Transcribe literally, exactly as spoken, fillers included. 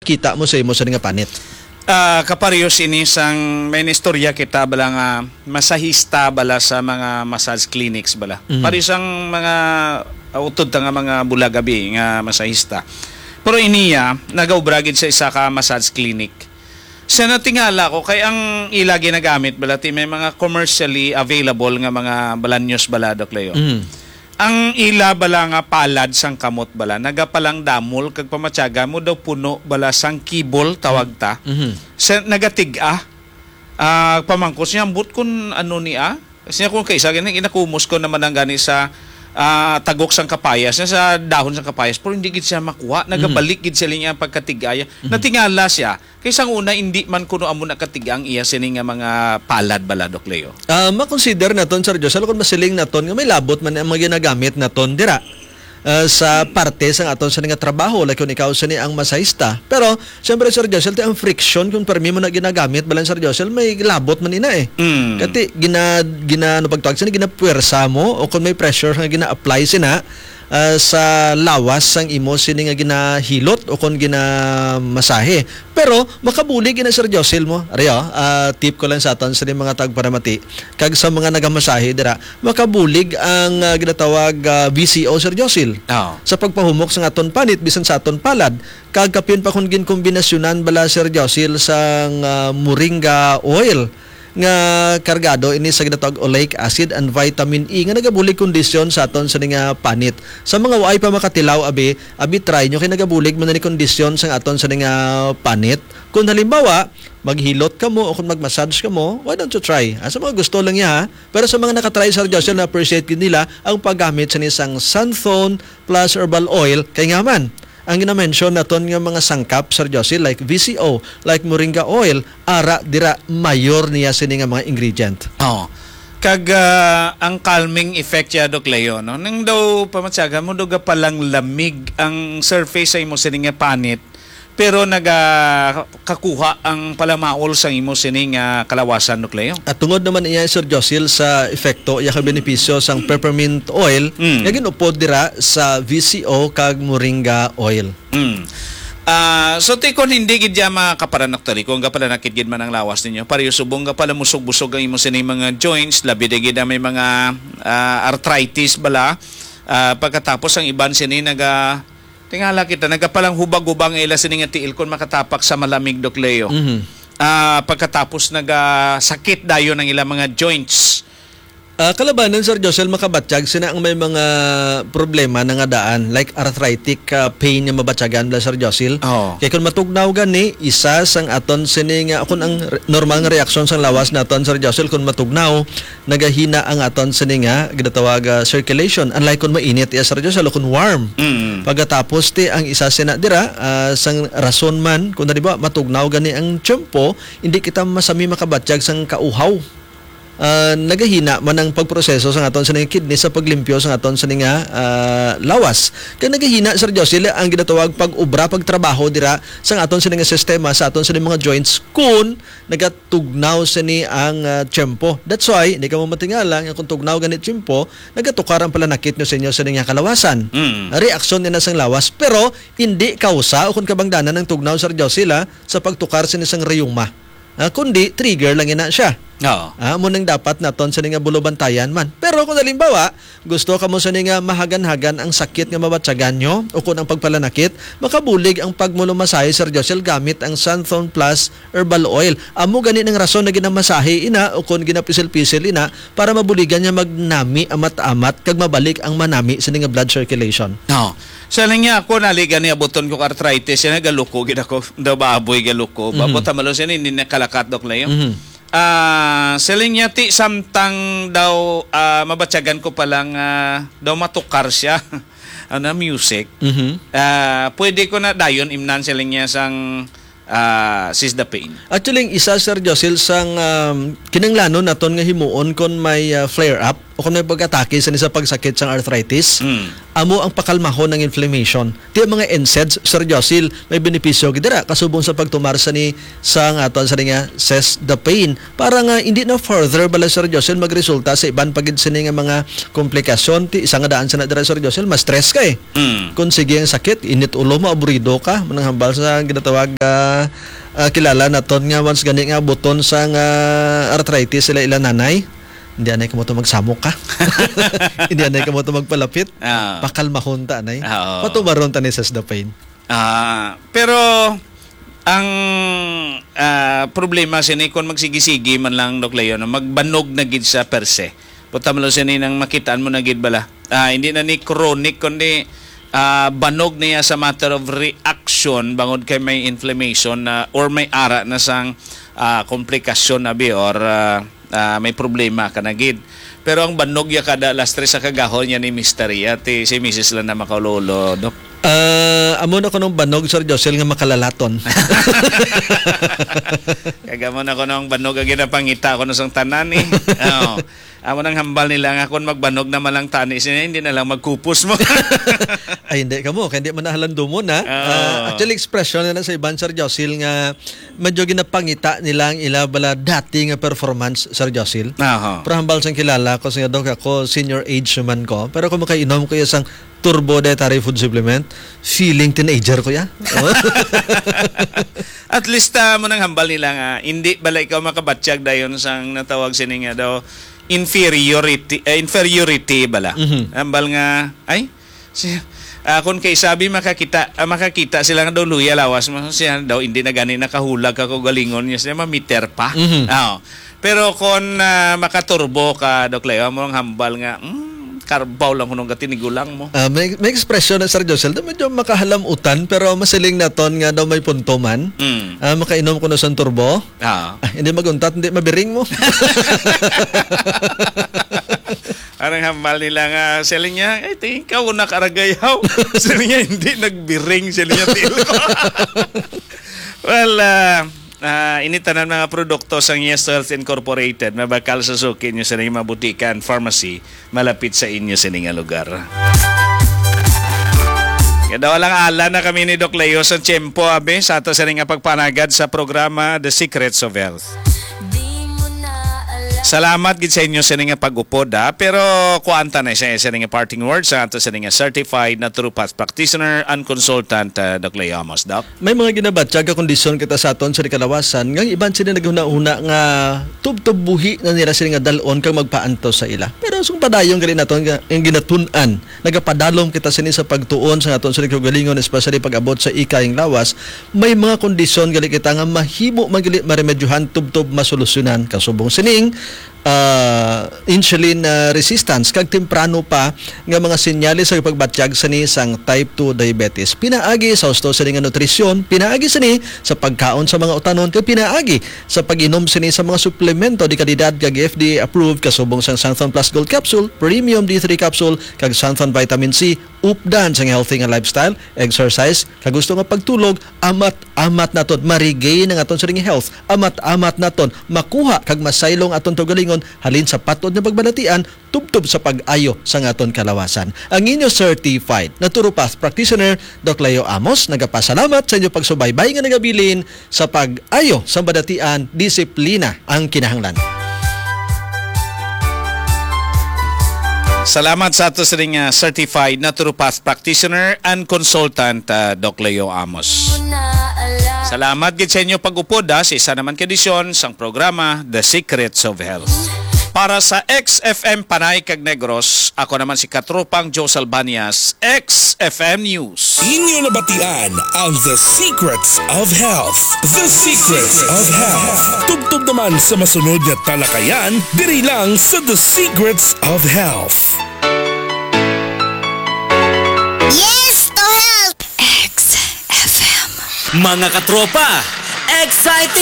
kita mo sa imo sa nga panit? Ah, kapareho sini sang may istorya kita bala nga masahista bala sa mga massage clinics bala. Mhm. Pareho sang mga ah, utod ta nga mga bulag abi nga masahista. Pero iniya, nagaubra gid sa isa ka massage clinic. Sa natingala ko, kay ang ila ginagamit bala, ti may mga commercially available nga mga balanyos bala, Doc Leo. Mhm. Ang ila bala nga palad sang kamot bala, nagapalangdamol kag pamatyaga mo daw puno bala sang kibol, tawag ta. Mhm. Sa nagatig-a, ah, pamangkot siya, "Ambot kun ano ni, ah?" Siya kung kaisa, gani, ginakumos ko naman ang gani sa ah, tagok sang kapayas, na sa dahon sang kapayas, pero hindi gid siya makuha. Mhm. Nagabalik gid sila niya ang pagkatigaya. Mhm. Natingala siya, kay sang una, hindi man kuno amo nakatiga ang iya sini nga mga palad bala, Doc Leo. Ah, makonsider naton, Sir Josel, kung masiling naton nga may labot man ang mga ginagamit naton dira, ah, sa parte sang aton sini nga trabaho, like kung ikaw sini ang masahista. Pero, siyempre, Sir Josel, ti ang friction kung permi mo na ginagamit, balan, Sir Josel, may labot man ina eh. Mm. Kati, gina, gina, ano pagtawag sini, ginapuwersa mo o kung may pressure nga gina-apply sina, ah, sa lawas sang imo sini nga ginahilot o kung ginamasahe. Pero makabulig ina, Sir Josil, mo. Ari, oh, ah, tip ko lang sa aton sini mga tagparamati kag sa mga nagamasahe dira, makabulig ang, ah, ginatawag, ah, V C O, Sir Josil. Oo. Sa pagpahumok sa aton panit bisan sa aton palad, kag kapin pa kung ginkombinasyonan bala, Sir Josil, sang, ah, moringa oil nga kargado ini sa ginatawag oleic acid and vitamin E nga nagabulig kondisyon sa aton sini nga panit. Sa mga waay pa makatilaw, abi, abi try nyo kay nagabulig man ni kondisyon sa aton sini nga panit. Kung halimbawa, maghilot kamo o kung mag-massage kamo, why don't you try? Ah, sa mga gusto lang niya, ha? Pero sa mga nakatry, Sir Joshua, na-appreciate gid nila ang paggamit sa isang Santhon plus herbal oil. Kay nga man, ang ginamention naton nga mga sangkap, Sir Joshua, like V C O, like moringa oil, ara dira mayor niya sini nga mga ingredient. Oo. Kag, ah, ang calming effect siya, Doc Leo, no? Nang daw pamatyagan mo, daw gapalang lamig ang surface sa imo sini nga panit, pero nagakakuha ang palamaol sa imo sini nga kalawasan, Doc Leo. At tungod naman iya, Sir Josil, sa epekto, iya ka benepisyo sang peppermint oil, Mm. nga ginupod dira sa V C O kag moringa oil. Mm. Ah, so, ti kon hindi gid ya makaparanak tali, kung kaparanakit gid man ang lawas ninyo, pareho subong ka pala musog-busog ang imo sini mga joints, labi na gid ang may mga, ah, arthritis bala, ah, pagkatapos ang iban sini naga, tingala kita, nagapalang hubag-hubag ang ila sini nga tiil kon makatapak sa malamig, Doc Leo. Mhm. Ah, pagkatapos nagasakit dayon ang ila mga joints. Ah, kalabanan, Sir Josel, makabatyag sina ang may mga problema na nga daan, like arthritic, ah, pain nga mabatyagan bala, Sir Josel. Oo. Kay kung matugnaw gani, isa sang aton sini nga, kung ang re-, normal nga reaksyon sang lawas naton, Sir Josel, kung matugnaw, nagahina ang aton sini nga ginatawag, ah, circulation. Unlike kung mainit iya, Sir Josel, o kung warm. Mm. Pagkatapos, ti, ang isa sina dira, ah, sang rason man, kung halimbawa, matugnaw gani ang tiyempo, hindi kita masami makabatyag sang kauhaw. Ah, nagahina man ang pagproseso sa aton sini nga kidney sa paglimpyo sa aton sini nga, ah, lawas. Kag nagahina, Sir Josel, ang ginatawag pag-obra, pagtrabaho dira sa aton sini nga sistema, sa aton sini mga joints, kun nagatugnaw sini ang, ah, tiyempo. That's why, hindi ka mo matingala nga kung tugnaw gani tiyempo, nagatukar ang palanakit nyo sa inyo sini nga kalawasan. Mm. Reaksyon nila sang lawas, pero hindi kausa o kung kabangdanan ang tugnaw, Sir Josel, ah, sa pagtukar sini sang rayuma. Ah, kundi trigger lang ina siya. Oo. Ah, amo nang dapat naton sini nga bulubantayan man. Pero kung halimbawa, gusto kamo sini nga mahagan-hagan ang sakit nga mabatyagan nyo o kung ang pagpalanakit, makabulig ang pagmulumasahe, Sir Josel, gamit ang Santhon Plus Herbal Oil. Amo gani nang rason na ginamasahe ina o kung ginapisil-pisil ina para mabuligan niya magnami amat-amat kag mabalik ang manami sini nga blood circulation. Oo. Sa lang niya ako, naliga ni abuton ko arthritis, yan, galuko gid ako. Daw baboy, galuko. Mhm. Babot, hamalo siya, hindi nakalakat, Dok Leo. Mhm. Ah, sa lang niya, ti, samtang daw, ah, mabatyagan ko pa lang, ah, daw matukar siya. Ano, music. Mhm. Ah, pwede ko na dayon imnan sa lang niya sang, ah, sis the pain. Actually, ang isa, Sir Josil, sang, um, kinanglanon naton nga himuon kon may, ah, flare up. o kung may pag-atake sa, sa pagsakit sang arthritis, Mm. amo ang pakalmahon ng inflammation. Ti ang mga N SAIDs, Sir Josil, may benepisyo gid dira kasubong sa pagtumar sa ni, sa nga aton sa nga Cess the Pain. Para nga hindi na further bala, Sir Josil, magresulta sa iban pa gid sini nga mga komplikasyon. Ti isa nga daan sa na dira, Sir Josil, ma-stress ka eh. Mm. Kung sige ang sakit, init ulo mo, aburido ka, manang hambal sa ginatawag, ah, ah, kilala naton nga once gani nga buton sa nga arthritis sila ila nanay. Hindi anay kamo to magsamok ka. Hindi anay kamo to magpalapit. Ah. Pakalmahon ta anay. Ah, oo. Patubaron ta ni Cess the Pain. Ah, pero ang, ah, problema sini kung magsigi-sigi man lang, Doc Leo, no, magbanog na gid sa per se. Puta mo lang sini nang makitaan mo na gid bala. Ah, hindi na ni chronic, kundi, ah, banog niya sa matter of reaction bangod kay may inflammation na or may ara na sang, ah, komplikasyon na bi or, ah, ah, may problema ka na gid. Pero ang banog ya kada alas tres sa kagahon niya ni Mister Iya, ti si Misis lang na makaulolo, Dok. Ah, amo na kunong banog, Sir Josel, nga makalalaton. Kag amo na kunong banog ang ginapangita ko sang tanan eh. Oo. Amo nang hambal nila nga kung magbanog naman lang tani siya, hindi na lang magkupos mo. Ay, hindi ka mo, kaya hindi man nahalandumon, ha? Oo. Ah, actually, expression na lang sa iban, Sir Josil, nga medyo ginapangita nila ang ila bala dati nga performance, Sir Josil. Aha. Pero hambal sang kilala ko, sa Dok, ako, senior age man ko. Pero kung makainom ko isang Turbo Dietary Food Supplement, feeling teenager ko ya. At least, ah, mo nang hambal nila nga, hindi bala ikaw makabatyag dayon sang natawag sini nga daw inferiority, eh, inferiority bala. Mhm. Hambal nga, ay, si, ah, kung kay sabi makakita, ah, makakita sila nga daw luya lawas mo, siya daw hindi na gani nakahulag ka kaugalingon niya, siya mamiter pa. Mhm. Oo. Pero kung, ah, makaturbo ka, Doc Leo, mo ang hambal nga, "Mm, karbaw lang hunong gatinigulang mo." Ah, may, may expression na, Sir Josel, daw medyo makahalamutan, pero masiling naton nga daw may punto man. Mm. Ah, makainom ko na sang turbo. Ah. Ah, hindi maguntat, hindi mabiring mo. Arang hambal nila nga, siling niya, "Ay, tingin ka, una karagayaw." Siling niya, "Hindi nagbiring," siling niya, "Tilo." Well, ah, ah, ini tanan mga produkto sang Yes Health Incorporated, mabakal sa suki niyo sa inyong mga butika and pharmacy malapit sa inyo sa inyong lugar. Kaya daw lang ala na kami ni Doc Leo sa tiyempo, abi, sa ato sa nga pagpanagad sa programa The Secrets of Health. Salamat gid sa inyo sa nga pag-upod, ha? Pero kuan ta na sa, sa nga parting words sa ato sa nga certified naturopath practitioner and consultant, ah, Doc Leo Amos, Doc. May mga ginabatyag nga kondisyon kita sa aton sa kalawasan, nga ang iban sila naghuna-huna nga tubtob buhi na nila sila nga dal-on kag magpaantos sa ila. Pero sung padayon gali naton nga ang ginatun-an, nagapadalom kita sini sa pagtuon sa aton sa kaugalingon, especially pag-abot sa ikayang lawas. May mga kondisyon gali kita nga mahimo man gali maremedyohan tubtob masolusyonan. Kasubong sining, ah, insulin, ah, resistance, kag temprano pa nga mga senyales sa pagbatyag sini sang type two diabetes. Pinaagi sa husto sini nga nutrisyon, pinaagi sini sa pagkaon sa mga utanon, kag pinaagi sa pag-inom sini sa mga suplemento di kalidad kag F D A approved, kasubong sang Xanthone Plus Gold Capsule, Premium D three Capsule, kag Xanthone Vitamin C, updan sang healthy nga lifestyle, exercise, kag gusto nga pagtulog, amat-amat naton ma-regain ang aton sining health, amat-amat naton makuha kag masaylong aton kaugalingon halin sa patod nga pagbalatian, tubtob sa pag-ayo sa aton kalawasan. Ang inyo certified naturopath practitioner, Doc Leo Amos, nagapasalamat sa inyo pagsubaybay nga nagabilin sa pag-ayo sa balatian, disiplina ang kinahanglan. Salamat sa ato sining, ah, certified naturopath practitioner and consultant, ah, Doc Leo Amos. Salamat gid sa inyo pag-upod, ah, sa isa naman ka edisyon sang programa The Secrets of Health. Para sa X F M Panay kag Negros, ako naman si Katropang Joe Salbanias, X F M News. Inyo nabatian ang The Secrets of Health. The Secrets of Health. Tubtob naman sa masunod nga talakayan, diri lang sa The Secrets of Health. Yes to health! X F M. Mga katropa, exciting